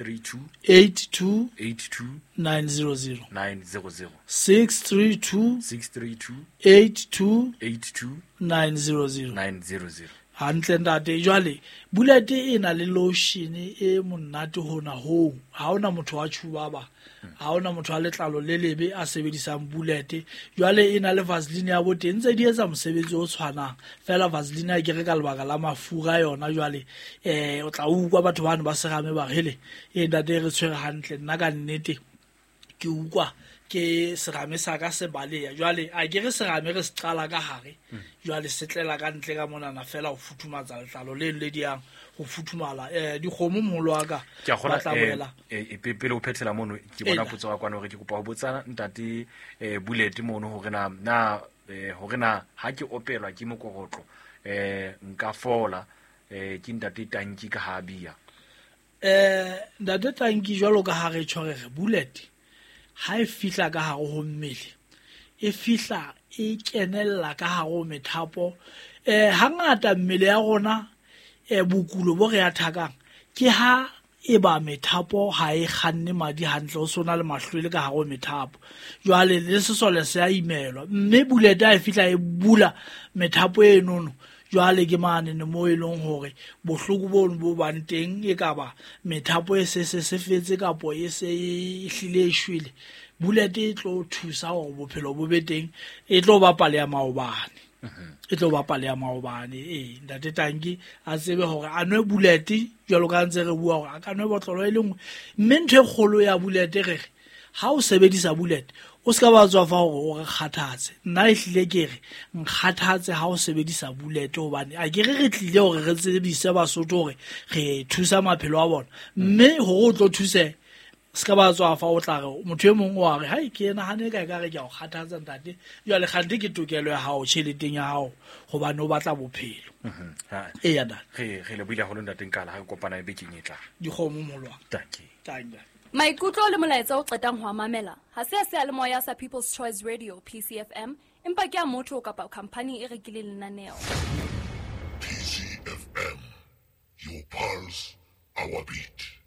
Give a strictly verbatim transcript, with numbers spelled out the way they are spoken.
three two eight two eight two nine zero zero nine zero zero six three two six three two eight two eight two nine zero zero nine zero zero. Hantle ntate. Jwale bullet e na le lotion e monate hona hoo. Ha hona motho wa tjhubaba, ha hona motho wa letlalo le lebe a sebedisang bullet. Jwale e na le vaseline ya boteng, ntse di etsa mosebetsi o tshwanang fela. Vaseline ha ke re ka lebaka la mafura yona. Jwale eh o tla utlwa batho bano ba serame ba re hele e ntate re tshwere hantle. Nna ka nnete ke utlwa ke serame sa ka se baleya. Jwale a ke re serame re se qala ka hare, jwale se tlela ka ntle ka monana fela ho futhumatsa letlalo le le di yang ho futhumala. Eh dikgomo moholo wa ka Ke a kgolwa, ba tla eh, boela. eh, pe-, pele o phethela mono, ke bona Ena. potso ya kwana hore ke kopa ho botsa ntate, eh, Bullet mono hore na, na, eh, hore na ha ke opelwa ke mokokotlo, eh, nka fola, eh, ke ntate Tanki ka ha bia. Eh, ntate Tanki, jwalo ka ha re tjho re re Bullet ha e fihla ka hare ho mmele, e fihla e kenella ka hare ho methapo. Eh, hangata mmele ya rona, eh, bokulo bo re athakang ke ha e ba methapo ha e kganne madi hantle, o sona le mahlwele ka hare ho methapo. Jwale le sesole se a imelwa, mme Bullet ha e fihla e bula methapo e nono. Jwale ke mane ne mo e leng hore bohloko bono bo bang teng, e ka ba methapo e se se se fetse kapo e se e hlile e shwele. Bullet e tlo thusa hore bophelo bo be teng, e tlo ba pale ya maobane. E tlo ba pale ya maobane. Ee, ntate Tanki a tsebe hore a nwe Bullet jwalo ka ntse re bua hore a ka nwe botlolo e le nngwe. Mme ntho e kgolo ya Bullet re re ha o sebedisa Bullet o ska ba tswa fa hore o re kgathatse. Nna ehlile ke re nkgathatse ha o sebedisa Bullet, hobane a ke re re tlile hore re tsebise Basotho hore re thusa maphelo a bona, mme hore o tlo thuse ska ba tswa fa o tla re motho e mong o a re hai ke nahane ka ekare ke a o kgathatsa ntate. Jwale kgante ke tokelo ya hao tjheleteng ya hao hobane o batla bophelo. Mhm. Ha. Eya, ntate. Re, re lebohile haholo ntate Nkala, ha re kopana bekeng e tlang. Dikgomo molwa. Dankie. Dankie. Maikutlo le molaetsa o qetang ho a mamela ha se a seyalemoya sa People's Choice Radio P C F M, empa ke a motho kapa khampani e rekileng lenaneo. P C F M, your pulse, our beat.